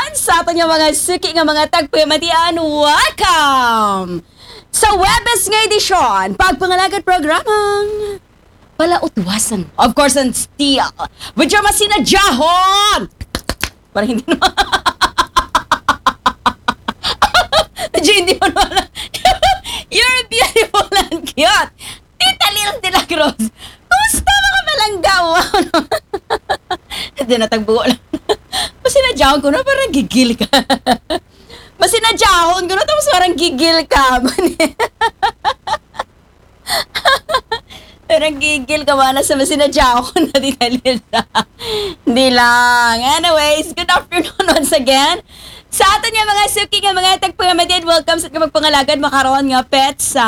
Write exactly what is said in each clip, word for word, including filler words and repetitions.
Sa aton nga mga suki nga mga tagpamatian, welcome sa Webes nga edisyon, pagpangalagad programang Palautwasan. Of course, and still, with your masinadyahon! Para hindi naman. Medyo hindi mo naman. You're beautiful and cute. Tita Lil de la Cruz. Kumusta mga palangga? Hindi na tagbuo lang. Masinadyahon ko na parang gigil ka. Masinadyahon ko na tapos parang gigil ka. Parang gigil ka, mana, sa masinadyahon na di talita. Hindi lang. Anyways, good afternoon once again. Sa aton nga mga suki nga mga tagpangamatid, welcome sa kapagpangalagad makaron nga pet sa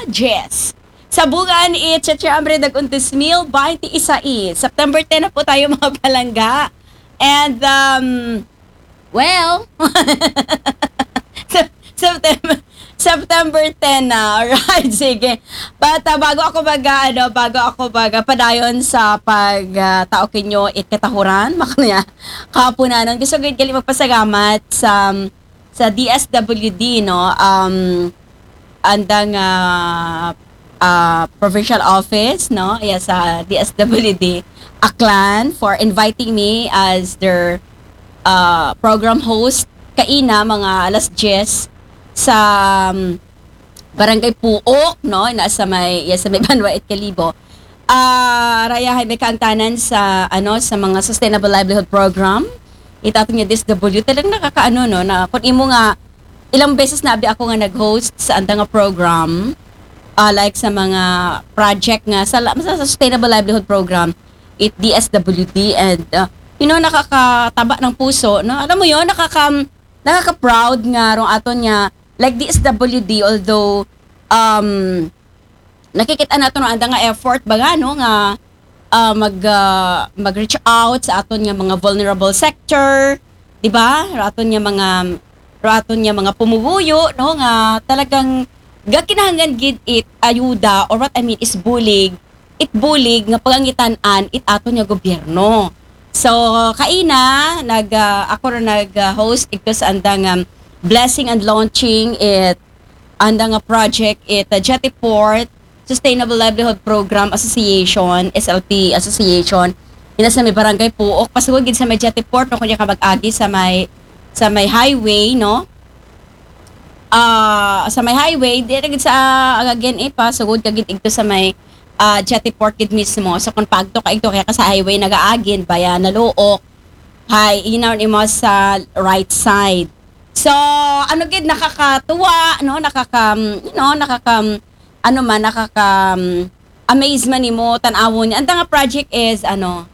Jess. Sa bulan, it's Cheche Ambre Daguntis Mil, bainti isa i. September ten na po tayo, mga palangga. And, um, well, Sep- September, September ten na. Alright, sige. But uh, bago ako baga, ano, bago ako baga padayon sa pag uh, tao kinyo it katahuran, makanya kapunanan. Gusto ko gali magpasalamat sa sa D S W D, no? Um, andang uh, uh, provincial office, no? Yeah, sa D S W D, Aklan, for inviting me as their uh, program host kaina mga alas diyes sa um, Barangay Puok, no? Na sa may, yeah, sa may Banwa at Kalibo. Ah, rayahay may kaangtanan sa ano sa mga sustainable livelihood program. Itato niya D S W, talagang nakakaano, no, na kung imo nga ilang beses na abi ako nga nag-host sa anda nga program, ah, like sa mga project nga sa, sa sustainable livelihood program, it D S W D, and uh, you know, nakakataba ng puso, no? Alam mo yon, nakaka nakaka-proud nga rong aton nga like D S W D, although um nakikita nato no anda nga effort ba nga, no, nga ah, mag ah, mag-reach out sa aton nga mga vulnerable sector, di ba? Ra aton nga mga ra aton nga mga pumuguyo, no, nga talagang gakinahanglan gid it ayuda, or what I mean is bulig, it bulig nga pagangitan-an it aton nga gobyerno. So kaina nag ah, ako ra nag-host ito sa andang um, blessing and launching it anda nga project it uh, Jetty Port Sustainable Livelihood Program Association, S L P Association. Ina sa may barangay Puok, pasugod gid sa may Jetty Port, no, kunya ka mag-agi sa may sa may highway, no? Ah, sa may highway, di na gid sa again eh, pasugod ka gid igto sa may ah, Jetty Port gid mismo. So kung pagto ka igto kaya ka sa highway nagaagin, baya naluok, hay, inaon imo sa right side. So ano gid, nakakatuwa, no? Nakaka, you know, nakaka, ano man, nakaka amaze man nimo tan-awon niya. Anta nga project is ano,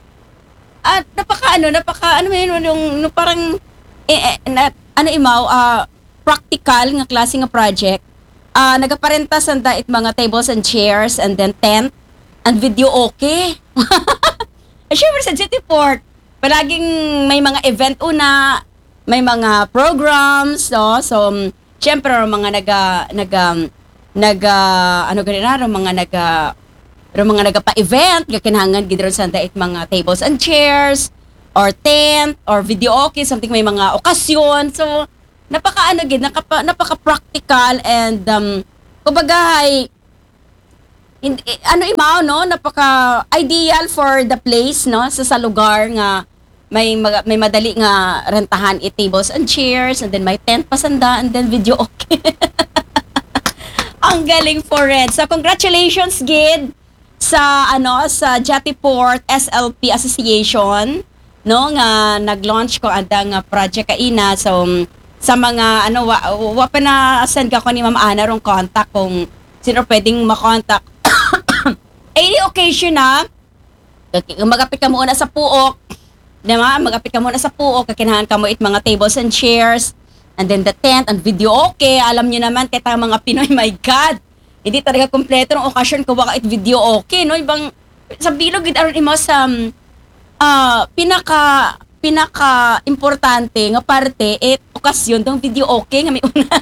at napaka ano, napaka ano man yun, yung, yung parang eh, eh, na, ano imaw, ah, practical nga klase nga project. Ah, nagaparenta sanda it mga tables and chairs and then tent and video okay. Eh, syempre sa Jetty Port, palaging may mga event una, may mga programs, no? So, um, syempre, ang mga naga, naga, naga, ano gani na, ang mga naga, ang mga nagapa-event, nga kinahanglan gid ron sa dait mga tables and chairs, or tent, or video okay, something may mga okasyon. So, napaka ano gid, nakapa, napaka practical and um, kumbaga hay, hindi, ano imaw, no? Napaka ideal for the place, no? Sa, sa lugar nga may maga- may madali nga rentahan it tables and chairs and then may tent pa sanda and then video okay. Ang galing for it. So congratulations gid sa ano sa Jetty Port S L P Association, no, nga nag-launch ko ada nga project kaina. So sa mga ano wa, wa pa na send ka ko ni Ma'am Ana rong contact kung sino pwedeng makontak. Any occasion na, kung magapit ka muna sa puok, di ba? Magapit ka muna sa puok, kakinahanglan ka mo it mga tables and chairs, and then the tent, and video okay. Alam niyo naman, kaya tayo mga Pinoy, my God, hindi talaga kompleto ng okasyon kung wala it video okay, no? Ibang, sa bilog gid aron imo sa um, ah, pinaka pinaka importante nga parte it okasyon tong video okay nga may una.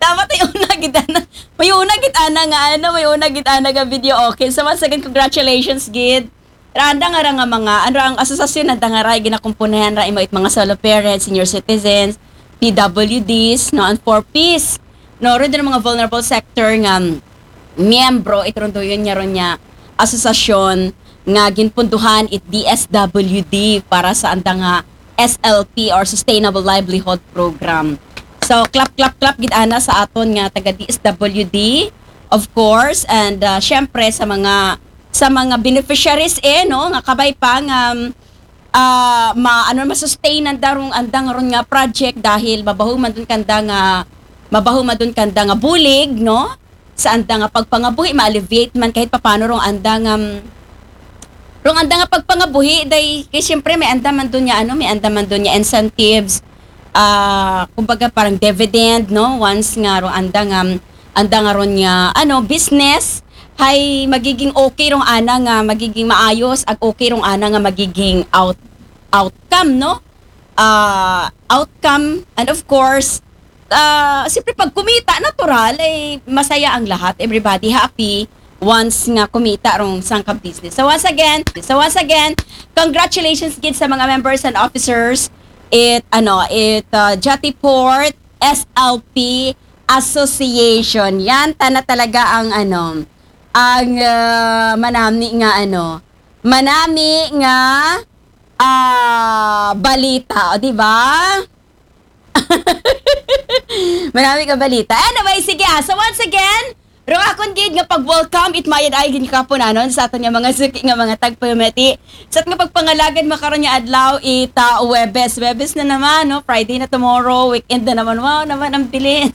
Dapat ay una gid ana. May una gid ana nga ano, may una gid ana nga video okay. So once again, congratulations gid Randa nga ra nga mga, ano, ang asosasyon na danga ra, ginakumpunahan ra imo it mga solo parents, senior citizens, P W Ds, no, and four Ps. No, ron din mga vulnerable sector nga miyembro, it ron doon niya ron niya asosasyon nga ginpunduhan it D S W D para sa anda nga S L P or Sustainable Livelihood Program. So, clap, clap, clap, gid ana sa aton nga taga D S W D, of course, and uh, syempre sa mga sa mga beneficiaries eh, no, nga kabay pa nga um, uh, ma ano ma-sustain ang darong andang ron nga project dahil mabaho man dun kanda nga mabaho man dun kanda nga bulig, no, sa anda nga pagpangabuhi, ma-alleviate man kahit papano rong andang um, rong andang nga pagpangabuhi day kay siyempre may anda man dun nga ano, may anda man dun nga incentives, ah, kumbaga parang dividend, no, once nga rong andang um, andang nga ron nga ano, business, hay magiging okay rong ana nga magiging maayos ag okay rong ana nga magiging out outcome, no? Ah, outcome, and of course, ah, siyempre pag kumita natural ay masaya ang lahat, everybody happy once nga kumita rong sangka business. So once again, so once again, congratulations gid sa mga members and officers it ano, it uh, Jatiport S L P Association. Yan tana talaga ang ano, ang uh, manami nga ano, manami nga ah balita, o di ba? Manami ka balita. Anyway, sige ah. So once again, rong akon gid nga pag-welcome it mayad ay gid kapunanon sa aton nga mga suki nga mga tagpamati. Sa aton nga pagpangalagad makaron nga adlaw ita Webes. Webes na naman, no? Friday na tomorrow, weekend na naman. Wow naman ang bilis.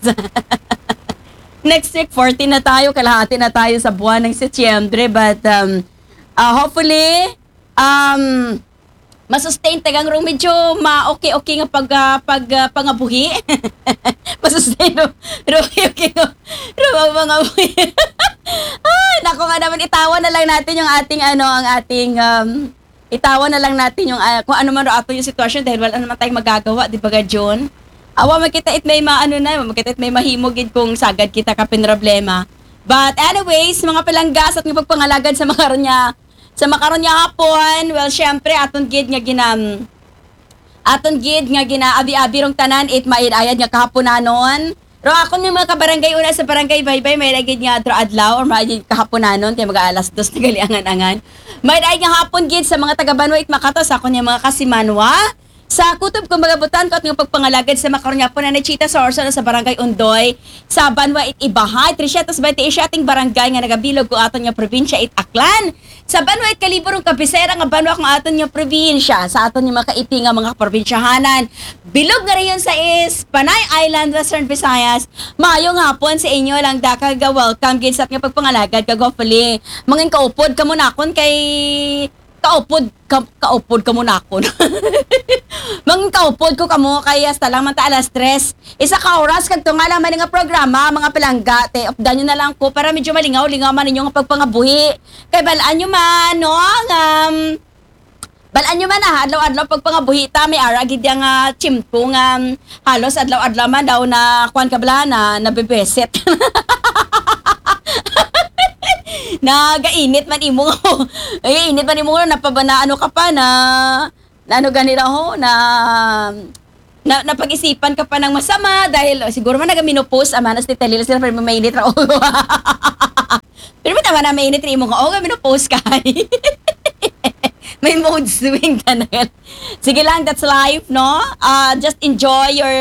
Next week, fourteen na tayo, kalahati na tayo sa buwan ng Setyembre. But um, uh, hopefully, um, masustain tagang rong medyo ma-okay-okay nga pag, ah, pag ah, pangabuhi. Masustain rong rong okay-okay nga rong pangabuhi. Ay, naku nga naman, itawan na lang natin yung ating ano, ang ating um, itawan na lang natin yung ah, kung ano man ro ato yung sitwasyon dahil wala naman tayong magagawa, di ba ga June? Awa makita it may maano na, makita it may mahimo gid kung sagad kita ka problema. But anyways, mga palangga, sa ating pagpangalagad sa mga niya sa makaron nga hapon, well, syempre, aton gid nga ginam aton gid nga ginaabi-abi rong tanan it maid-ayad nga kahaponanon. Ro akon nga mga kabarangay una sa barangay Baybay, may gid nga adlaw-adlaw or may gid kahaponanon kay mga alas dos na gali angan-angan. May gid nga hapon gid sa mga taga Banwa it Makato sa akon nga mga kasimanwa. Sa kutob kong mga butan ko at nga pagpangalagad sa makaron nga po na nachita sa orso na sa barangay Undoy, sa Banwa it Ibahay, trescientos veinte y siete barangay nga nagabilog ko aton nga probinsya it Aklan. Sa Banwa it Kalibo rong kabisera nga banwa kung aton nga probinsya, sa aton nga makaipi nga mga probinsyahanan. Bilog nga rehiyon sa is Panay Island, Western Visayas. Maayong hapon sa inyo lang dakag welcome gid sa nga pagpangalagad kag hopefully mangin kaupod kamo nakon kay kaupod ka, kaupod kamo nakon. Mangin kaupod ko kamo kay hasta lang man ta alas tres. Isa ka oras kag tunga lang man nga programa, mga palangga, te, updan nyo na lang ko para medyo malingaw-lingaw man ninyo nga pagpangabuhi. Kay balaan nyo man, no, nga, um, balaan nyo man, ah, adlaw-adlaw pagpangabuhi ta, may ara gid yang ah, chimpo nga um, halos adlaw-adlaw man daw na kuan ka bala na nabebeset. Nagainit man imo. Ay, init man imo na napabana ano ka pa na na ano gani raw ho, na na, napag-isipan ka pa ng masama dahil oh, siguro man nagaminopause, amanas ni Talil sila pero mainit raw. Pero tama na mainit rin mo nga, oh, gaminopause ka. May mood swing ka na. Sige lang, that's life, no? Uh, just enjoy your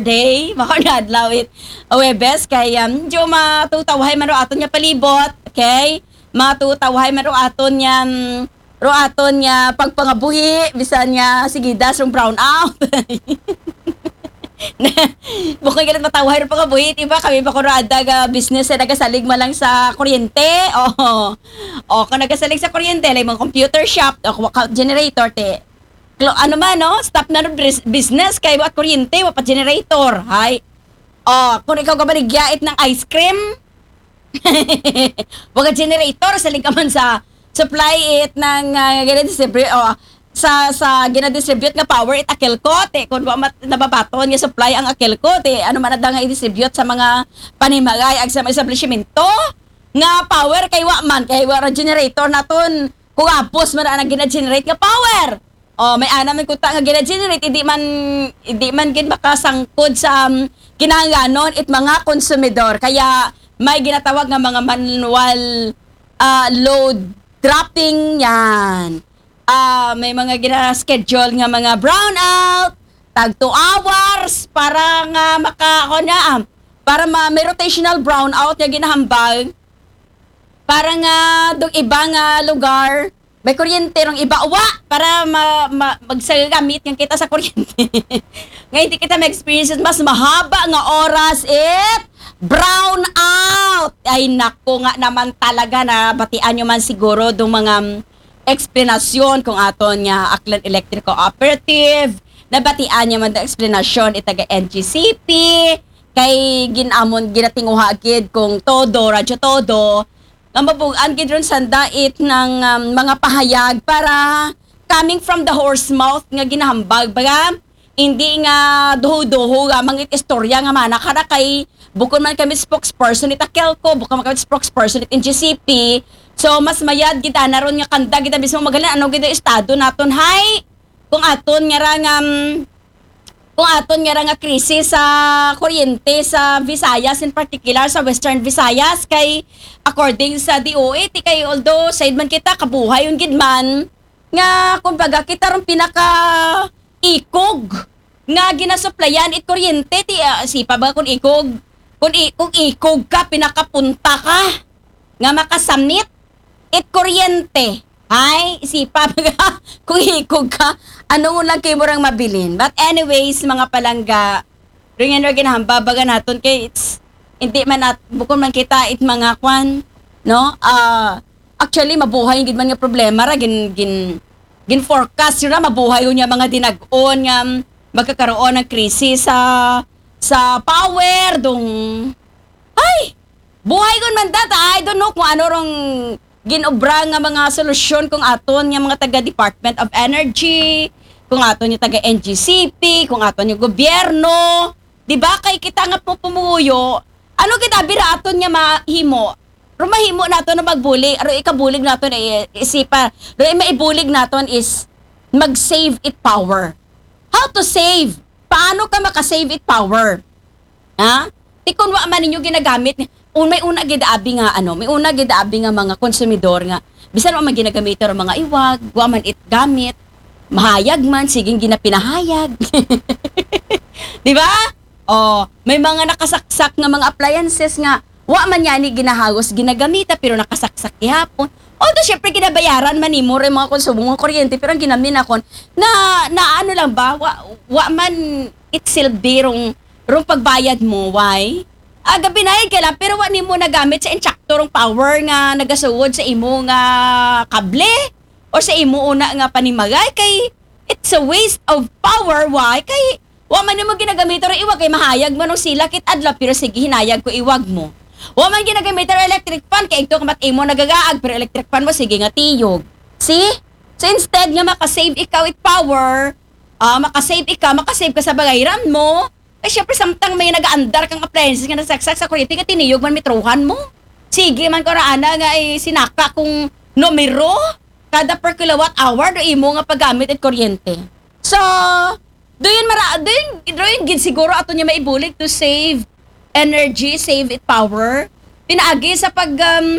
day. Makaon na adlaw it. Webes, kay um, medyo matutawhay man ro aton nga palibot, okay? Matutawhay man ro aton nga um, ro aton nga pagpangabuhi, bisan nga sige das rong brown out. Bukoy galit matawhay rong pangabuhi, iba kami pa ko ro adda ga business na nagasalig man lang sa kuryente. Oh. O kung nagasalig sa kuryente, like mga computer shop, o kung generator te. Klo, ano man, no? Stop na ro business kay wa kuryente, wa pa generator. Hay. O, kung ikaw gabaligya it ng ice cream, Baga generator, saling ka man sa supply it ng uh, gina-distribute o sa sa gina-distribute nga power it akil ko te kun wa mat nababaton nga supply ang akil ko te ano man ada nga i-distribute sa mga panimagay ag sa mga establishmento nga power kay wa man kay wa generator naton Kung apos man ang gina-generate nga power. O, may ana man kuta nga gina-generate, hindi man, hindi man gid makasangkod sa, um, kinahanglanon it mga konsumidor. Kaya may ginatawag nga mga manual, ah, load dropping yan. Ah, may mga gina-schedule nga mga brownout, tag two hours para nga maka, ako na, ah, para ma-, may rotational brownout nga ginahambal para nga dong iba nga lugar may kuryente, rong iba wa, para ma-, ma-, magsagamit nga kita sa kuryente. Nga hindi kita ma-experience mas mahaba nga oras it brown out. Ay nako nga naman talaga, nabatian nyo man siguro dong mga, mm, eksplanasyon kung aton nga Aklan Electric Cooperative. Nabatian nyo man dong eksplanasyon it taga N G C P. Kay ginamon, ginatinguha gid kung todo, Radyo Todo, nga mabugan gid ron sanda it ng, um, mga pahayag para coming from the horse mouth nga ginahambal, baga, hindi nga duho-duho lamang it istorya nga mana kara kay bukon man kami spokesperson it Akelco, bukon man kami spokesperson it N G C P. So, mas mayad gid ana ron nga kanda gid mismo magalan ano gid ang estado naton, hay? Kung aton nga ra nga, mm, kung aton nga ra nga krisis sa kuryente sa Visayas, in particular sa Western Visayas, kay according sa D O A, ti kay although said man kita, kabuhay yun gid man, nga kumbaga kita rong pinaka ikog nga ginasuplayan it kuryente, ti, ah, sipa ba kung ikog, kung, i-, kung ikog ka, pinakapunta ka nga makasamit it kuryente. Ay, isipa ka kung ikog ka, ano mo lang kayo murang mabilin. But anyways, mga palangga, ring and ring, hambabaga naton kay it's, hindi man at, bukon man kita it mga kwan, no? Ah, actually, mabuhay gid man nga problema ra, gin, gin, gin forecast ra, mabuhay yun yung mga dinag-on nga, mm, magkakaroon ng krisis sa, sa power, dong, ay, buhay kun man data, I don't know kung ano rong ginobra nga mga solusyon kung aton nga mga taga Department of Energy, kung aton nga taga N G C P, kung aton nga gobyerno. Di ba? Kay kita nga pupumuyo, ano kita bira aton nga mahimo? Ro mahimo nato na magbulig, ro ikabulig nato na i-, isipa, ro maibulig naton is mag-save it power. How to save? Paano ka maka-save it power? Ha? Ti kun wa man ninyo ginagamit, un-, may una gid abi nga, ano, may una gid abi nga mga konsumidor nga bisan wa man ginagamit ang mga iwag, wa man it gamit, mahayag man, siging ginapinahayag. Di ba? Oh, may mga nakasaksak nga mga appliances nga wa man yani ginahagos ginagamita pero nakasaksak gihapon. Although, syempre, ginabayaran man nimo rin mga konsumo ng kuryente, pero ang ginaminakon na, na ano lang ba, wa, wa man it silbi rong, rong pagbayad mo, why? Ah, gabinayad ka lang, pero wa nimo nagamit sa insakto rong power nga nagasugod sa imo nga kable o sa imo una nga panimagay, kay it's a waste of power, why? Kay wa man nimo ginagamit ro iwag, kay mahayag man og sila kit adlaw, pero sige, hinayag ko iwag mo. Wa man ginagamit ro electric fan, kay igto ka mat imo nagagaag, pero electric fan mo, sige nga tiyog. See? So instead nga makasave ikaw it power, ah, makasave ikaw, makasave ka sa bagay ram mo, eh syempre samtang may nagaandar kang appliances nga nasaksak sa kuryente, nga tiniyog man mitruhan mo. Sige man ko raana nga ay sinaka kung numero kada per kilowatt hour do imo nga paggamit it kuryente. So, do yun mara-, do yun, do yun gid siguro ato niya maibulig to save energy, save it power. Pinaagi sa pag, um,